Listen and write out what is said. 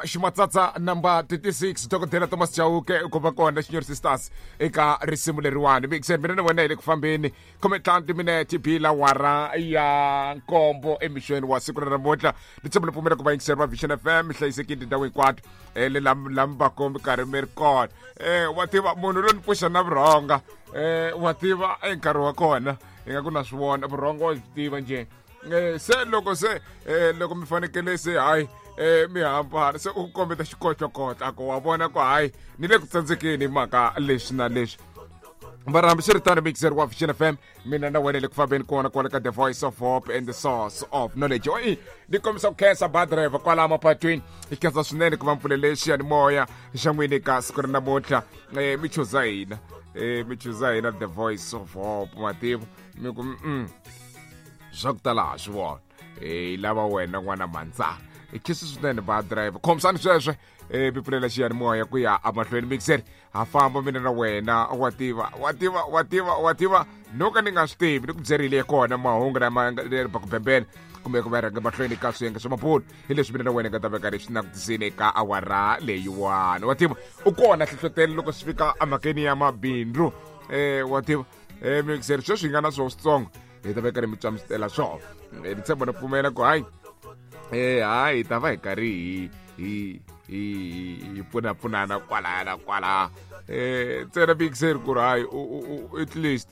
Ximatsatsa number 36, Dokodela Thomas Chauke u komba kona Xinyori Sisters eka risimu leriwani. Mixer, mina na wena hi le ku fambeni, 15 timinete bila wara ya 7 emixweni wa siku ra namuntlha. Ni tshemba ni pfumela ku vayingiseri va Vision FM mi hlayisekile tindhawu hinkwato, le lam va ko mi karhi mi ri kona. Wa tiva munhu loyi ni pfuxa na vurhonga, wa tiva nkarhi wa kona hi nga ku na swi vona vurhongo wa swi tiva njhe. Se loko se loko mi fanekele se hayi, mi hambana, se u kombeta xikotlokotla ku wa vona ku hayi ni le ku tsandzekeni hi mhaka leswi na leswi. Mara hambiswiritano, mixer wa Vision FM, mina na wena le ku fambeni kona kwale ka the Voice of Hope and the Source of Knowledge. Oi, ni kombisa ku khensa ba driver kwala mapatwini, hi khensa swinene ku va mpfulele xiyanimoya xa n'wini ka siku ra namuntlha. Mi chuza hina, mi chuza hina the Voice of Hope, mativa mi ku swa ku tala ha swi vona, hi lava wena n'wana mandza. Hi khisi swinene ba driver, khomisani sweswo, mi pfulela xiyanimoya ku ya emahlweni. Mixer, ha famba mina na wena, wa tiva, wa tiva, wa tiva, wa tiva, no ka ni nga swi tivi ni ku byerile kona mahungu lama ba ku bembela kumbe ku va rhanga mahlweni ka swiyenge swa mabulu hi leswi mina na wena nga ta veka leswi langutisini eka awara leyiwani. Wa tiva u kona hlohlotelo loko swi fika emhakeni ya mabindzu, wa tiva, mixer, sweswi hi nga na swona switsongo hi ta veka ri mi tswamisela swona. Ni tshemba ni pfumela ku hayi, hayi, hi ta va hi karhi hi pfunapfunana kwalaya na kwalaya, ntsena mixer ku ri hayi, at least